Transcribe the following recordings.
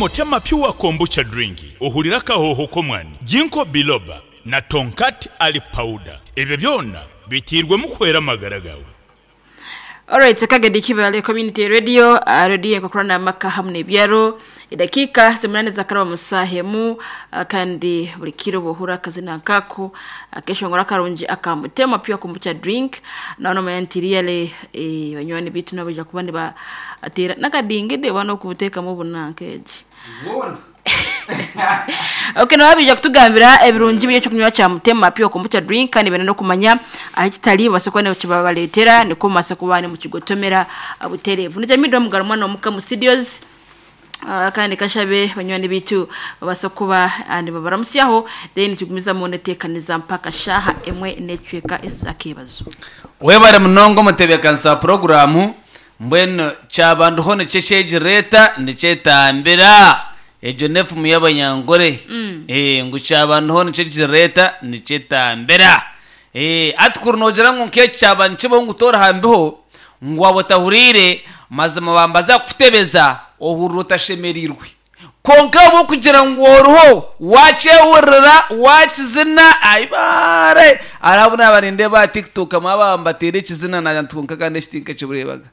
Mutema Pure Kombucha Drink ohurire akahooho k'omwani, Ginkgo Biloba na Tongkat Ali Powder. Ebyo byona biteirwemu kuhwera amagara gaawe. Alright, Kagedi Kibale Community Radio, uh, radio enkokorana n'amaka hamu n'ebyaro. Edakiika zimunani zakaraba mu saaha emu uh, kandi buri kiro bohura akazina nkako akeshongora akarungi aka Mutema Pure Kombucha Drink. Nawe nomanya nti really eh, banywani bitu nabo baija kuba nibateera n'akadingidi oba n'okubuteekamu obunanka egi. Okay, nabo baija kutugambira ebirungi biri ekyokunywa kya Mutema Pure Kombucha Drink kandi baine n'okumanya ahu kitari babaase kuba nikibabareetera nikwo mubaase kuba nimukigotomera butereevu. Nijamidwa Mugaru mwana omuka mu studios. Ah, kandi kashabe banywani bitu babaase kuba ah, nibabaramusyaho then tugumizamu neteekaniza mpaka shaaha emwe n'ekicweka ez'akeebazo. Webare munonga omutebeekanisa wa puroguraamu. Mbwenu kyabandiho nikyo ekyegireeta nikyetambira. Egyo n'efumu y'Abanyankore. Eh, ngu kyabandiho nikyo ekigireeta nikyetambira. Eh, hati kuri noogira ngu nk'eki kyaba nikibaho ngu toori aha mbiho, ngu waaba otahuriire, mazima bambaza kukutebeza ohurira otashemereirwe. Kwonka ahabw'okugira ngu oriho, waakyehurira, waakizina, aibaare! Hariho abu naaba nindeeba aha TikTok mwaba mbateire ekizina naagira nti kwonka kandi eki tinkakibureebaga.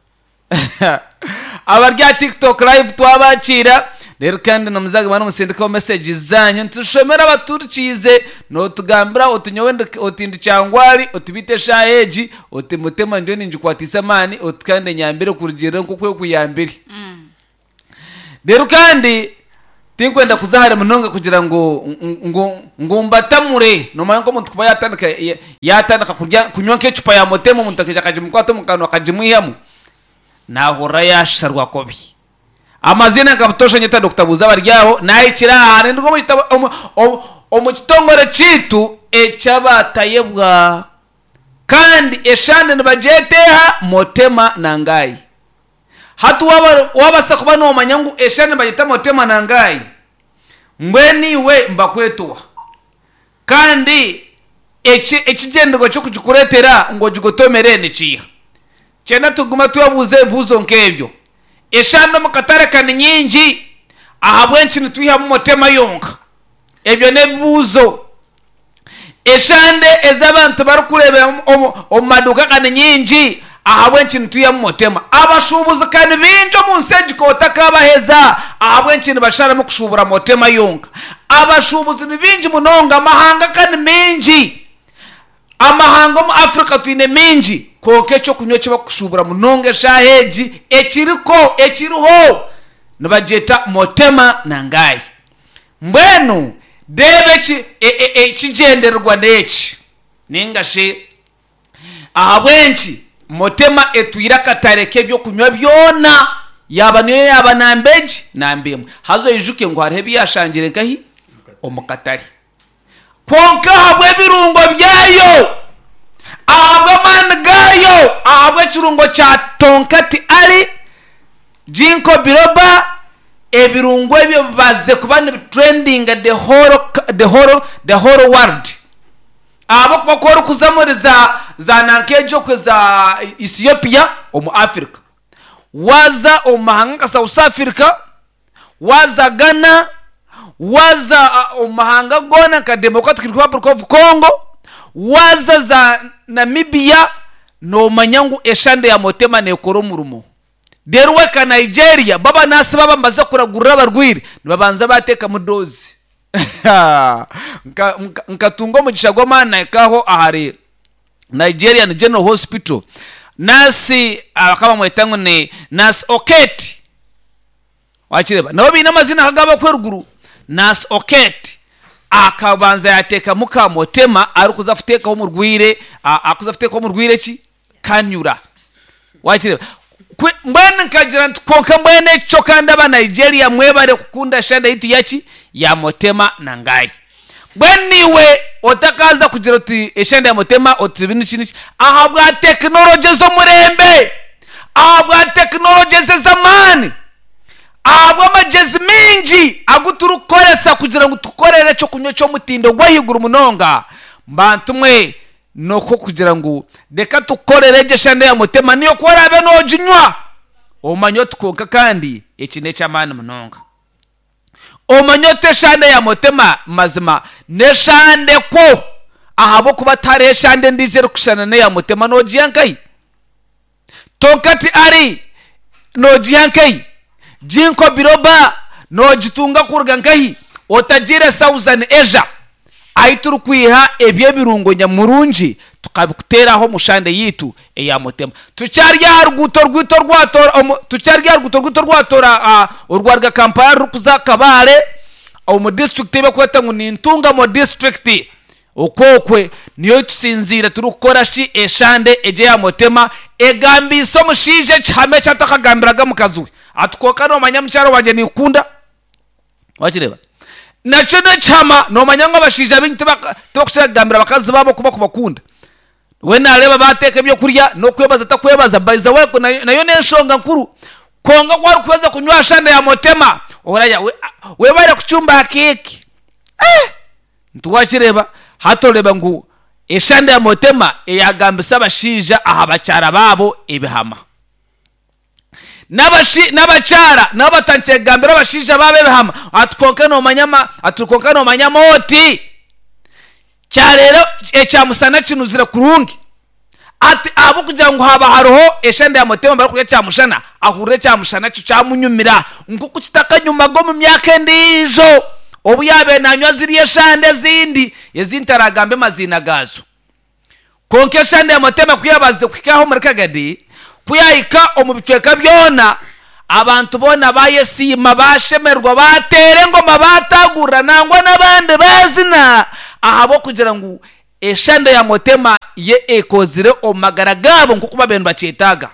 Abari aha TikTok live twabakiira, reero kandi nimuza nimusindikaho messages zaanyu nitushomera abaturikiize, nootugambira oti nyowe ndi oti ndi Kyangwari, oti beitu eshaaha egi, oti Mutema ndiyo ningikwatisa amaani, oti kandi enyambire kurugiirira nk'oku ekuyambire. Reero kandi tinkwenda kuza hare munonga kugira ngu ngu ngu mbatamure. Noomanya nk'omuntu kuba yaatandika yaatandika kurya kunywa nk'ecupa ya motema omuntu akaija akagimukwata omu kanwa akagimwihamu, naahurira yaasharwa kubi. Amaziina nka butoosha nyeta Dokita Buuza abari aho, naahikire aha ninduga omu kitabo omu omu omu kitongore kyaitu eky'abatayebwa. Kandi eshande nibagyeta eha? Motema na Ngai. Hati waaba waabaasa kuba noomanya ngu eshaaha nibagyeta Motema na Ngai, mbwenu iwe nibakweta oha? Kandi eki ekigyendererwa ky'okugikureetera ngu ogigotomere nikiiha? Kyenda tugume twebuuze ebibuuzo nk'ebyo. Eshaaha omu katare ka ni nyingi, ahabw'enki nitwihamu Motema yonka? Ebyo n'ebibuuzo. Eshande ezi abantu barikureebera omu maduuka ka ni nyingi, ahabw'enki nitwihamu Motema? Abashuubuzi ka ni baingi omu nsi egi k'otakabaheza, ahabw'enki nibasharamu kushuubura Motema yonka? Abashuubuzi ni baingi munonga, amahanga ka ni maingi. Amahanga omu Africa twine maingi, kwonka eky'okunywa eki bakushuubura munonga eshaaha egi ekiriko, ekiriho, nibagyeta Motema na Ngai. Mbwenu reeba eki, e-e-ekigyendererwa n'eki, nainga shi ahabw'enki Motema etwire akatare k'eby'okunywa byona, yaaba niyo yaaba namba egi, namba emwe. Haza oijuke ngu hariho ebi yaashangire nkahi? Omu katare. Kwonka ahabw'ebirungo byayo, ahabw'amaani gaayo, ahabw'ekirungo kya Tongkat Ali, Ginkgo biloba, ebirungo ebyo bibazize kuba nibitrendinga the whole, the whole, the whole world. Ahabw'okuba ku orikuza omuri za, za nanka egyo okwe za Ethiopia omu Africa, waaza omu mahanga nka South Africa, Waaza Ghana, waaza omu mahanga goona nka Democratic Republic of Congo, waaza za Namibia, noomanya ngu eshande ya Motema neekora omurimo. Reero wahika Nigeria, bo abanaasi baaba nibaza kuragurira abarwaire, nibabanza baateekamu doozi. Nkatunga omugisha gw'amaani nahika aho ahari Nigerian General Hospital, naasi bakaba bamweta ngu ni Nurse Oketi. Wakireeba? Nabo baine amazina nk'aga ab'okweruguru. Nurse Oketi akabanza yaateekamu ka Motema arikuza kuteekaho omurwaire, arikuza kuteekaho omurwaire ki? Kanyura. Wakireeba? Kwe, mbwenu nkagira nti kwonka mbwenu ekyo kandi aba Nigeria mwebare kukunda shande yaitu yaki? Ya Motema na Ngai. Mbwenu iwe otakaaza kugira oti eshande ya Motema oti niki niki ahabwa tekinologi ez'omurembe, ahabwa tekinologi ez'amaani, ahabw'amagyezi maingi agu turikukoresa kugira ngu tukorere ekyokunywa eky'omutindo gw'ahaiguru munonga, bantu mwe n'okugira ngu reka tukukorere egyo eshande ya Motema niyo ku oraabe nooginywa omanye oti kwonka kandi eki n'eky'amaani munonga. Omanye oti eshande ya Mutema mazima n'eshande kwo ahabw'okuba tihariho eshande endiijo erikushushana n'eya Mutema noogiiha nkahi? Tonkati ari noogiiha nkahi? Ginkgo biloba noogitunga kuruga nkahi? Otagiire Southern Asia ahi turikwiha eby'ebirungo nyamurungi tukabikuteeraho omu shande yaitu eya Mutema. Tukyari aha ruguuto rwaitu orwatoora omu tukyari aha ruguuto rwaitu orwatoora orwaruga Kampala rurikuza Kabale omu disiturikiti ei barikweta ngu ni Ntungamo disiturikiti. Okwo okwe niyo ei tusinziire turikukora shi eshande egi eya Mutema egambiise omushaija ekihama eki atakagambiraga mukazi we ati kwonka noomanya mukyara wangye ninkukunda. Wakireeba? Nakyo n'ekihama noomanya ngu abashaija baingi tibakukira kugambira bakazi baabo oku barikubakunda. We naareeba baateeka ebyokurya n'okwebaza takwebaza by the way nayo n'enshonga nkuru. Kwonka ku arikuheza kunywa aha shande ya Mutema oraya webare kucumba keeki. Eh! Ntiwakireeba? Hati oreeba ngu eshande ya Mutema eyagambisa abashaija aha bakyara baabo ebihama. N'abakyara nabo batandikire kugambira abashaija baabo ebihama ati kwonka noomanya ama ati kwonka noomanya amooti kyareero ekyamusana kinuzire kurungi ati ahabw'okugira ngu haaba hariho eshande ya Mutema barikurya kyamushana ahurira ekyamushana kyo kyamunyumira nk'oku kitakanyumaga omu myaka endiijo obu yaabaire naanywa ziriya eshande ezindi ezi ntaragambe maziina gaazo. Kwonka eshande ya Mutema ku yaabaasize kuhika aho omuri Kagadi, ku yaahika omu bicweka byona, abantu boona baayesiima, baashemererwa, baateera engoma, baataagurira, nangwa n'abandi baazina, ahabw'okugira ngu eshande ya Mutema yo ekozire omu magara gaabo nk'oku baabaire nibakyetaaga.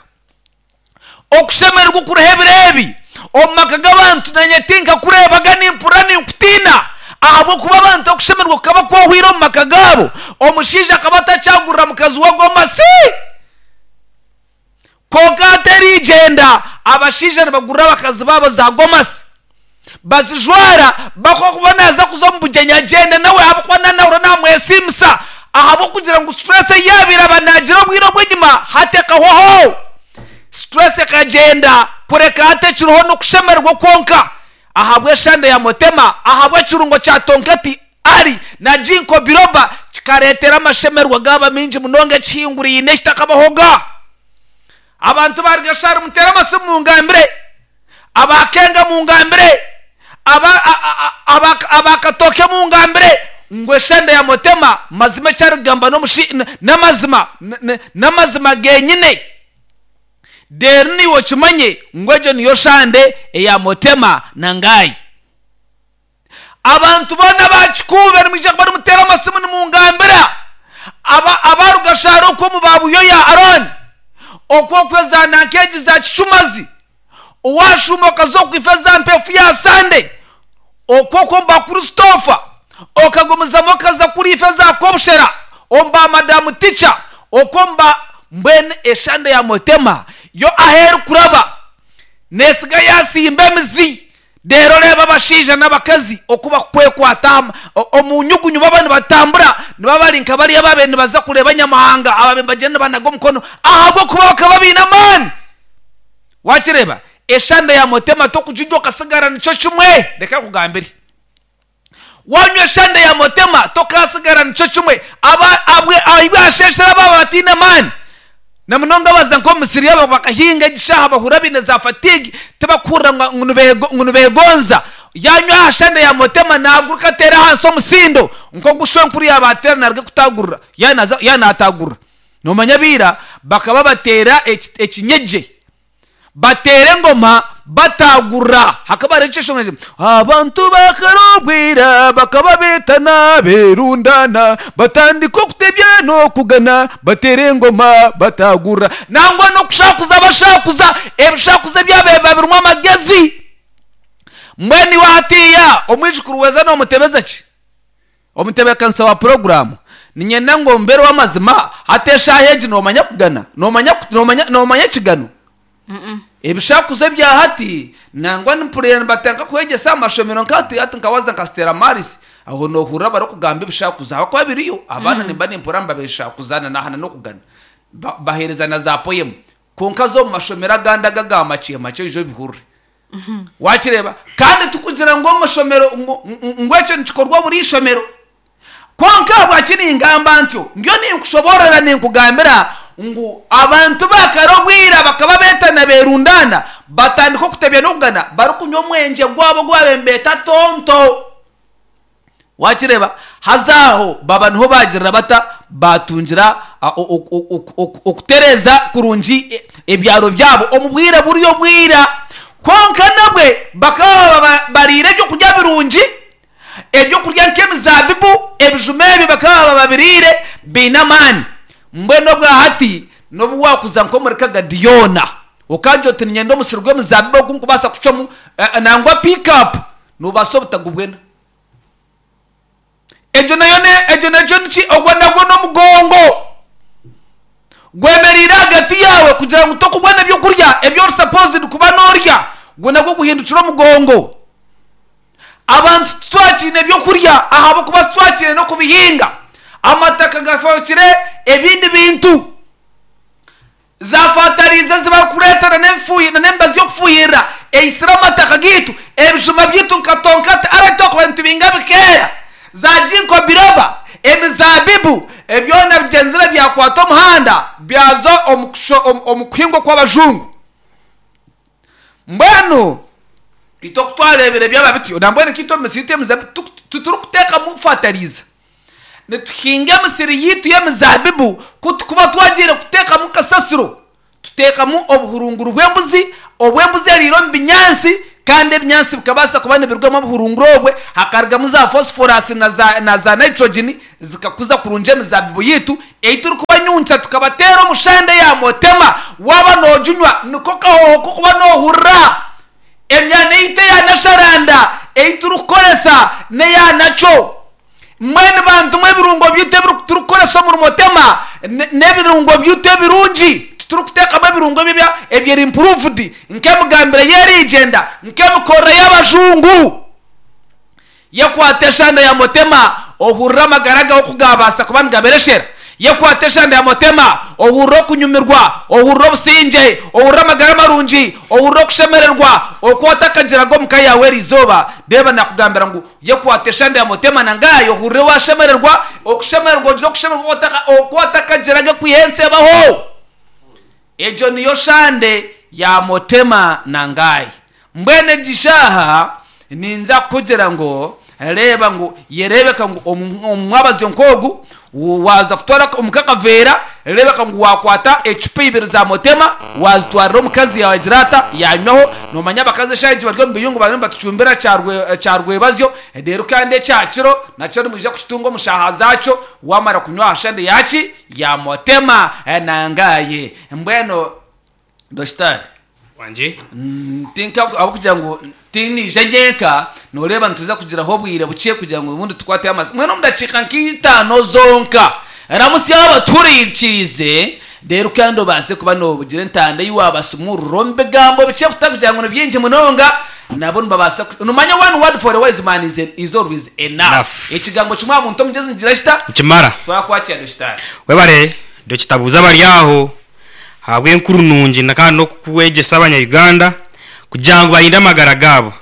Okushemererwa okuriho ebiro ebi omu maka g'abantu nanye tinkakureebaga nimpurira ninkutiina ahabw'okuba abantu okushemererwa kukaba kwahwaire omu maka gaabo. Omushaija akaba atakyagurira mukazi we gomasi. Kwonka hati eriigyenda abashaija nibagurira abakazi baabo za gomasi bazijwara bakuba naaza kuza omu bugyenyi agyende nawe ahabw'okuba naanahurira naamwesiimisa ahabw'okugira ngu stress ei yaabaire aba naagira obwire obw'enyima hati ekahwaho. Stress ekagyenda kureka hati ekiriho n'okushemererwa kwonka ahabw'eshande ya Mutema, ahabw'ekirungo kya Tonkati Ali na Ginkgo Biloba kikareetera amashemererwa gaaba maingi munonga ekihinguraine ekitakabahoga. Abantu ba Rugashari muteere amasimu mungambire. Aba Kenga mungambire, aba aba aba Katooke mungambire ngu eshande ya Mutema mazima eki arikugamba n'omushi n'amazima n'amazima genyine. Reero naiwe okimanye ngu egyo niyo shande eya Mutema na Ngayi. Abantu boona aba Kikuube nimwija kuba nimuteera amasimu nimungambira aba aba Rugashara okwo omu ba Buyoya Arooni okwo okwo eza nanka egi za Kicumazi owashuuma okaza okwifa eza mpefu ya Sande okwo okwo omu ba Christopher okagumizamu okaza kuri ife eza Kobushera omu ba Madamu Teacher okwo omu ba mbwenu eshande ya Mutema yo ahu erikuraba nesiga yasimba emizi Reero reeba abashaija n'abakazi oku barikwekwata omu nyugunyu baaba nibatambura, nibaba bari nka bariya abaabaire nibaza kureeba Nyamuhanga abaabaire nibagyenda nibanaga omukono ahabw'okuba bakaba baine amaani. Waakireeba? Eshande ya Mutema tokugirya okasigara nikyo kimwe. Reka nkugambire. Waanywa eshande ya Mutema tokaasigara nikyo kimwe. Aba abwe ahu baasheeshere abaaba bataine maani. Na munonga abaza nk'omu misiri yaabo bakahinga egi shaaha bahurira baine za fatigue tibakuhurira ngu ngu nibeegonza. Yaanywa aha shande ya Mutema naaguruka ateere ahansi omusindo nk'ogu shwenkuru yaaba ateera naaruga kutaagurura yaaba yaaba naataagurura. Noomanya abaira bakaba bateera ekinyegye. Bateera engoma bataagurira. Hakaba hariho ekyeshongoro kiti, Abantu ba kare obwira bakaba beetana beerundana, batandika okutebya n'okugana, bateera engoma bataagurira. Nangwa n'okushakuza bashakuza, ebishakuzo ebyabaire biba birimu amagezi. Mbwenu iwe hatiiya omwijukuru weeza noomutebeza ki? Omutebeekanisa wa puroguraamu, Niinyenda ngu ombeere ow'amazima hati eshaaha egi noomanya kugana? Noomanya noomanya noomanya ekigano? Ebishakuzo ebya hati nangwa mpurira nibatandika kwegyesa aha mashomero nka hati hati nka waaza nka Stella Maris aho noohurira barikugamba ebishakuzo ahabw'okuba biriyo. Abaana nimba nimpurira nibabishakuza na n'aha n'okugana. Ba baheereza na za poyemu. Kwonka zo omu mashomero agandi aga aga makye makye oije obihurire. Wakireeba? Kandi tikugira ngu omushomero ngu ekyo nikikorwa buri ishomero. Kwonka ahabwaki ningamba ntyo? Ndiyo ninkushoboorora ninkugambira ngu abantu ba kare obwira bakaba beetana beerundaana batandika okutebya n'okugana barikunywa omwengye gwabo ogu baabaire nibeeta tonto. Wakireeba? Haza aho baba niho baagirira bata? Baatungira okutereeza kurungi ebyaro byabo omu bwire buri obwira. Kwonka nabwe bakaba baba bariire ebyokurya birungi, ebyokurya nk'emizaabibu, ebijuma ebi bakaba baba babiriire baine amaani. Mbwenu obwa hati n'obu waakuza nk'omuri Kagadi yoona, okagira oti niinyenda omusiri gw'emizaabibu ogu nkubaasa kucwamu nangwa piikapu, Noobaasa obutagubwena. Egyo nayo ne, egyo nakyo niki? Ogwo nagwo n'omugongo gwemereire ahagati yaawe kugira ngu tokubona ebyokurya ebi ori supposed kuba noorya. Gwo nagwo guhindukire omugongo. Abantu titwakiine ebyokurya ahabw'okuba titwakiine n'okubihinga. Amataka gafookire ebindi bintu. Za fataliiza ezi barikureeta na n'emibazi y'okufuhirira eitsire amataka gaitu, ebijuma byaitu nka tonkati arali twakubaire nitubinga bikeera, za ginkgo biloba, emizaabibu, byona bigyenzire byakwata omuhanda byaza omu kuhingwa kw'abajungu. Mbwenu itwe ku twareebire byaba bityo, nambwenu nkaitwe omu misiri yaitu y'emizaabibu titurikuteekamu fataliiza. Nituhinga emisiri yaitu y'emizaabibu, ku turikuba twagiire kuteekamu kasasiro, tuteekamu obuhurunguru bw'embuzi, obu embuzi eriire omu binyaatsi, kandi ebinyaatsi bikabaasa kuba nibirugamu obuhurunguru obwe, hakarugamu za phosphorus na za nitrogen, zikakuza kurungi emizaabibu yaitu ei turikubanyunkya tukabateera omu shande ya motema. Waaba nooginywa niko kahooho k'okuba noohurira. Emyana yaitu eya nasharanda ei turikukoresa n'eya nakyo. Mbwenu bantu mwe ebirungo byaitu ebi turikukoresa omuri motema n'ebirungo byaitu ebirungi. Titurikuteekamu ebirungo ebyo ebyeri improved nk'emigambire y'erigyenda, nk'emikorere y'abajungu. Yekwate eshanda ya Motema ohurire amagara gawe oku gaabaasa kuba nigabereshera. Yekwate eshanda ya Motema ohurire okunyumirwa, ohurire obusingye, ohurire amagara marungi, ohurire okushemererwa oku otakagiraga omu ka yaawe eri izooba. Reeba naakugambira ngu yekwate eshanda ya Motema na ngaayi ohurire waashemererwa, okushemererwa ogire okushemererwa oku otakagiraga kwiha ensi ebaho. Egyo niyo shande ya Motema na Ngai. Mbwenu egi shaaha ninza kukugira ngu reeba ngu yereebeka ngu omu mwabazyo nk'ogu waaza kutwara omuka akaveera, reebeka ngu waakwata ecupa ibiri za Motema waazitwarira omukazi yaagira ata yaanywaho. Noomanya abakazi eshaaha egi bari omu biyungu bariyo nibatucumbira kyarwebazyo reero kandi ekyakiro nakyo nimwija kukitunga omu shaaha zaakyo waamara kunywa aha shande yaaki Ya Motema na Ngaye. Mbwenu Dokitaari. Wangye. Tinka ahabw'okugira ngu tiniija nyenka, nooreeba nituza kugiraho obwire bukye kugira ngu obundi tukwateho amasimu. Mbwenu omu dakiika nk'itaano zonka, ramutsya abatuhuriikiriize, reero kandi obaase kuba noogira entanda ei waabasumurura omu bigambo bikye kutakugira ngu ni bingi munonga, nabo nibabaasa ku. Noomanya one word for a wise man is, is always enough. Enough. Ekigambo kimwe aha muntu omugyezi nikigira kita? Nikimara. Twakwakira Dokitaari. Webare Dokita Buuza abari aho ahabw'enkuru nungi na kandi n'okukwegyesa abanya Uganda kugira ngu barinde amagara gaabo.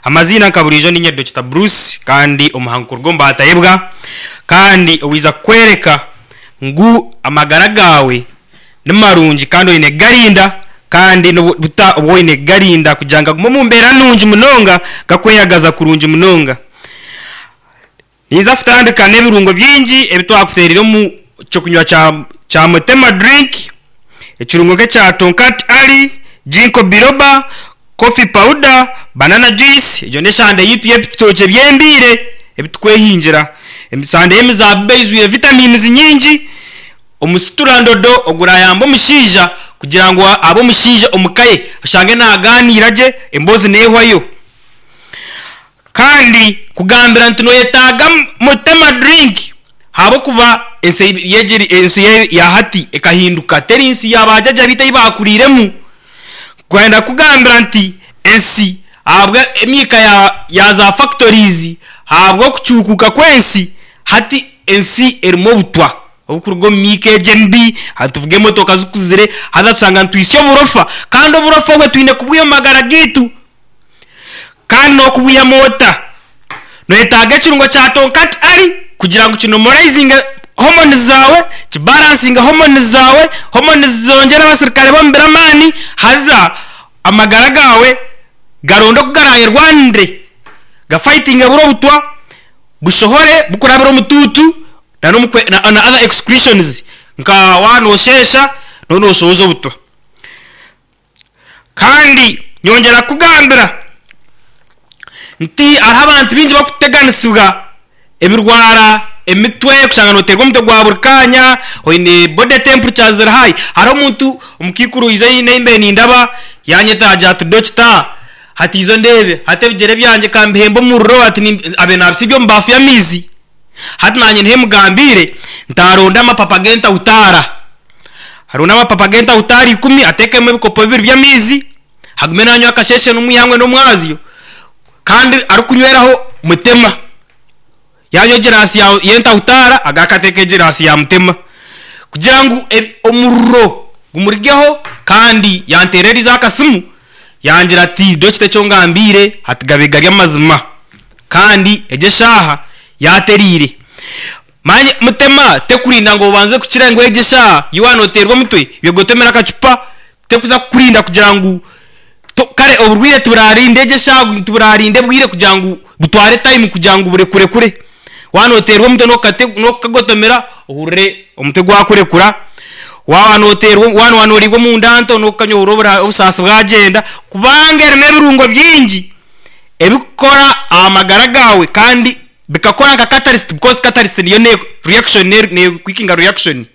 Amaziina nka buriijo ninye Dokita Bruce kandi omuhangu kuruga omu Baatayebwa kandi owaiza kukworeka ngu amagara gaawe ni marungi kandi oine kugarinda kandi n'obuta obu oine kugarinda kugira ngu gagume omu mbeera nungi munonga gakweyagaza kurungi munonga. Ninza kutandika n'ebirungo bingi ebi twakuteereire omu ky'okunywa kya Mutema Drink, ekirungo nk'ekya Tonkat Ali, Ginkgo Biloba, Coffee Powder, Banana Juice, egyo n'eshande yaitu y'ebitookye by'embiire ebi turikwehingira. Esande y'emizaabibu eijwire vitamins nyingi, omusiturandodo ogurayamba omushaija kugira ngu abe omushaija omu ka ye oshange naagaaniira gye emboozi neehwayo. Kandi kugambira nti noyetaaga Mutema Drink ahabw'okuba ensi ensi ya hati ekahinduka teri nsi ya bajaja baitu ei baakuriiremu. Kwenda kugambira nti ensi ahabwa emiika ya za factories ahabw'okucuukuuka kw'ensi hati ensi erimu obutwa oburikuruga omu miika egi emibi, hati tuvuga emotoka zikuzire haza tushanga nitwitsya oburofa kandi oburofa obwe twine kubwiha omu magara gaitu. Kandi n'okubwihamu ota? Noyetaaga ekirungo kya Tonkat Ali kugira ngu kinomoraizinge hormones zaawe, kibalansinge hormones zaawe, hormones zongyere abasirikare b'omubiri amaani, haza amagara gaawe garonde oku garaayerwanire, gafayitinge buri obutwa, bushohore bukurabira omu tuutu na na other excretions nka waaba noosheesha nooba nooshohoza obutwa. Kandi nyongyera kukugambira nti hariho abantu baingi barikuteganisibwa ebirwara emitwe kushanga noteerwa omutwe gwa buri kaanya, oine body temperature ziri high. Hariho omuntu omukaikuru oizire ahi mbaire nindaba yanyeta yaagira ati dokita hati iza ondeebe hati ebigyere byangye ka mbihembe omuriro hati abaire naabisiibya omu baafu y'amaizi. Hati naanye niho emugambiire nti aronde amapapa g'entahutaara. Aronde amapapa g'entahutaara ikumi ateekemu ebikopo bibiri by'amaizi, agume nanywa akasheeshe n'omwihangwe n'omwazyo kandi arikunyweraho mutema. Yanywa egiraasi y'entahutaara agaruke ateeke egiraasi ya mutema kugira ngu omuriro gumurugeho kandi yanteererize akasimu yangira ati dokita eki ongambiire hati gabaire gari amazima. Kandi egyo eshaaha yaatereire. Manya mutema, tekurinda ngu obanze kukira ngu egyo eshaaha ei waaba nooteerwa omutwe, yogotomera akacupa, tekuza kukurinda kugira ngu to kare oburwaire tiburarinda egyo eshaaha tiburarinda obwire kugira ngu butware time kugira ngu burekurekure. Waaba nooteerwa omutwe n'okukate n'okukagotomera ohurire omutwe gwakurekura. Waaba nooteerwa waaba nooriibwa omunda nto n'okukanywa ohurire obusaasi bwagyenda kubanga erimu ebirungo bingi. Ebikukora aha magara gaawe kandi bikakora nka catalyst because catalyst niyo ne reaction ne quickinga reaction.